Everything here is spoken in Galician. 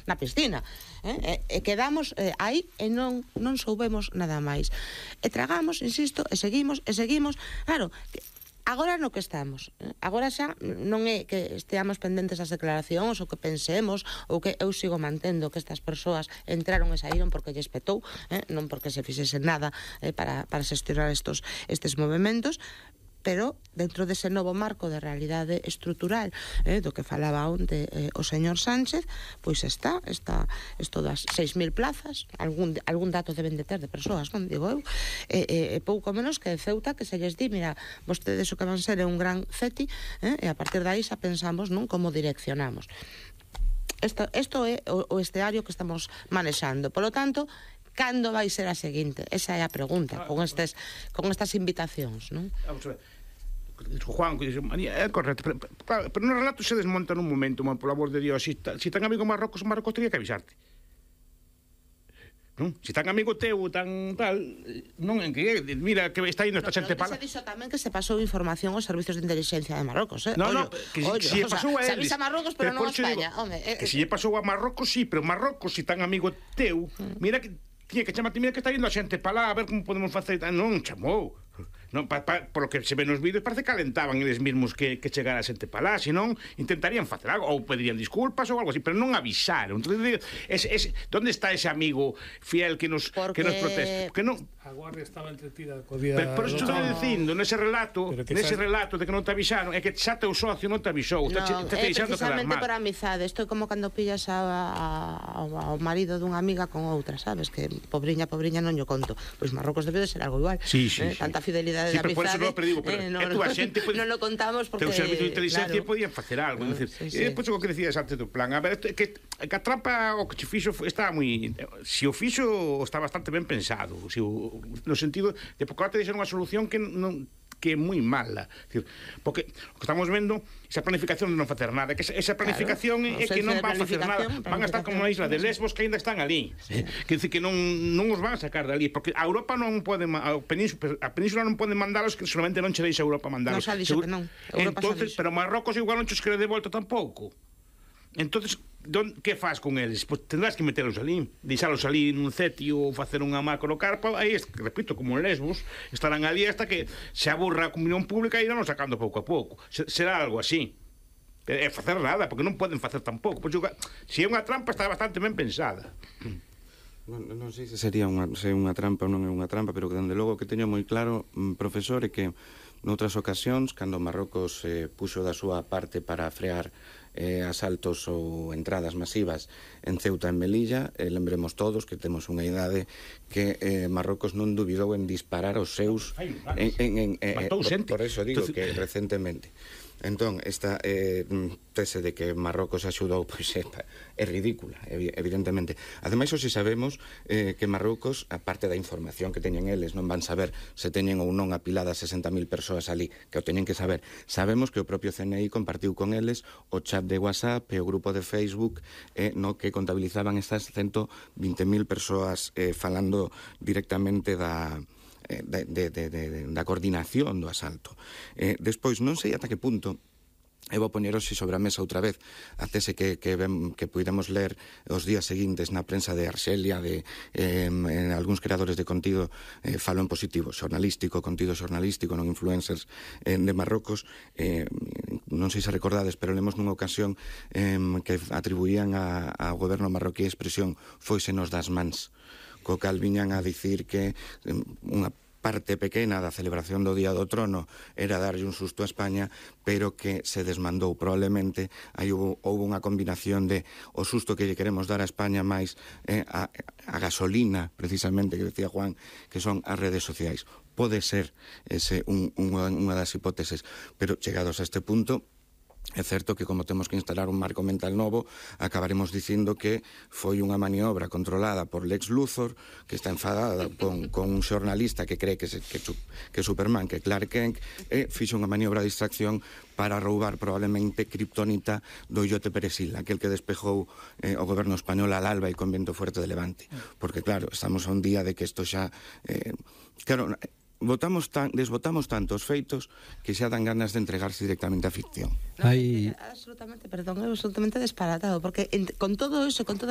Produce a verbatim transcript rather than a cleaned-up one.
na piscina. E, e quedamos eh, aí e non, non soubemos nada máis. E tragamos, insisto, e seguimos, e seguimos. Claro, agora no que estamos, agora xa non é que esteamos pendentes das declaracións ou que pensemos ou que eu sigo mantendo que estas persoas entraron e saíron porque lles petou, eh? non porque se fixese nada eh, para, para xestionar estos, estes movimentos, pero dentro dese novo marco de realidade estrutural eh, do que falaba onte eh, o señor Sánchez, pois está, está isto das seis mil plazas, algún, algún dato deben de ter de persoas, non digo eu, e, e, e pouco menos que de Ceuta, que se lles di, mira, vostedes o que van ser é un gran ceti, eh, e a partir de aí xa pensamos non como direccionamos. Isto, isto é o, o esteario que estamos manexando, polo tanto, cando vai ser a seguinte? Esa é a pregunta, con estes con estas invitacións, non? Vamos a ver. Juan, é correcto, pero, pero, pero no relato se desmonta nun momento, man, por amor de Dios, si, si tan amigo Marrocos, Marrocos teria que avisarte. Non? Si tan amigo teu, tan tal, non en que, mira, que está indo esta xente para... Pero se dixo tamén que se pasou información aos servizos de inteligencia de Marrocos, eh? No, no, que ollo, si lle pasou a eles. Se avisa a Marrocos, pero, pero non a España, home. Eh, que si lle pasou a Marrocos, sí, pero Marrocos, si tan amigo teu, mira que... Tiña que chamarte, mira que está indo a xente para lá, a ver como podemos facer... Non, chamou. Non, pa, pa, por lo que se ve nos vídeos parece que alentaban eles mesmos que, que chegara a xente para lá, senón intentarían facer algo, ou pedirían disculpas ou algo así, pero non avisaron. Entonces, es, es, ¿dónde está ese amigo fiel que nos, Porque... que nos protege? Porque non... A Guardia estaba entretida co día... Pero, pero eso estou dicindo, nese relato, nese xa... relato de que non te avisaron, é que xa teu socio non te avisou, no, te, te, te é deixando quedar precisamente mal. por amizade. Isto é como cando pillas a, a, ao marido dunha amiga con outra, sabes? Que pobriña, pobriña non yo conto. Pois Marrocos debe de ser algo igual. Sí, sí, eh? sí. Tanta fidelidade sí, de amizade. Por eso non digo, pero eh, no, a túa xente non lo contamos porque... Teu servicio de inteligencia claro, podían facer algo, no, decir, sí, sí. E depois o que decías antes do plan, a ver, que, que a trampa o que che fixo está moi... Si o fixo está bastante ben pensado, si o, no sentido de porque ahora te deixan unha solución que non que é moi mala, decir, porque o que estamos vendo, esa planificación de non facer nada, que esa, esa planificación claro, é que non van a facer nada, van a estar como na isla de Lesbos que ainda están ali, sí. Que decir que non non os van a sacar dali, porque a Europa non pode, a península, a península non pode mandalos, que solamente non che deixa a Europa mandalos. Non xa dixo que non. Europa entonces, pero Marrocos igual non che os quere de volta tampouco. Entonces, don, que faz con eles? Pois pues tendrás que metelos ali, deixalos ali nun cetio ou facer unha macrocarpa, aí, repito, como en Lesbos, estarán ali hasta que se aburra a comunión pública e irán sacando pouco a pouco. Será algo así. É facer nada, porque non poden facer tampouco. Pois, se é unha trampa, está bastante ben pensada. Non, non sei se sería unha, se unha trampa ou non é unha trampa, pero que, dende logo, que teño moi claro, profesor, é que noutras ocasións, cando Marrocos eh, puxo da súa parte para frear eh, asaltos ou entradas masivas en Ceuta e en Melilla, eh, lembremos todos que temos unha idade que eh, Marrocos non dubidou en disparar os seus en, en, en, eh, por, por eso digo que recentemente. Entón, esta eh, tese de que Marrocos axudou, pois é, é ridícula, evidentemente. Ademais, hoxe sabemos eh, que Marrocos, a parte da información que teñen eles, non van saber se teñen ou non apiladas sesenta mil persoas ali, que o teñen que saber. Sabemos que o propio C N I compartiu con eles o chat de WhatsApp e o grupo de Facebook eh, no que contabilizaban estas ciento vinte mil persoas eh, falando directamente da... De, de, de, de, da coordinación do asalto. Eh, despois, non sei ata que punto eu vou poñer hoxe sobre a mesa outra vez a tese que, que, ven, que puidamos ler os días seguintes na prensa de Arxelia, de eh, en algúns creadores de contido eh, falo en positivo, xornalístico, contido xornalístico, non influencers eh, de Marrocos, eh, non sei se recordades, pero lemos nunha ocasión eh, que atribuían a, ao goberno marroquí a expresión "foisenos das mans", co cal viñan a dicir que unha parte pequena da celebración do Día do Trono era darlle un susto a España, pero que se desmandou probablemente. Aí houve, houve unha combinación de o susto que lle queremos dar a España máis eh, a, a gasolina, precisamente, que decía Juan, que son as redes sociais. Pode ser ese un, unha, unha das hipóteses, pero chegados a este punto, é certo que como temos que instalar un marco mental novo, acabaremos dicindo que foi unha maniobra controlada por Lex Luthor, que está enfadada con, con un xornalista que cree que, se, que, que Superman, que Clark Kent, e fixo unha maniobra de distracción para roubar probablemente kriptonita do illote Perejil, aquel que despejou eh, o goberno español al alba e con vento fuerte de levante. Porque claro, estamos a un día de que isto xa... Eh, claro... Votamos tan, desvotamos tantos feitos que xa dan ganas de entregarse directamente á ficción. No, Hay... absolutamente, perdón, é absolutamente disparatado, porque en, con todo eso, con toda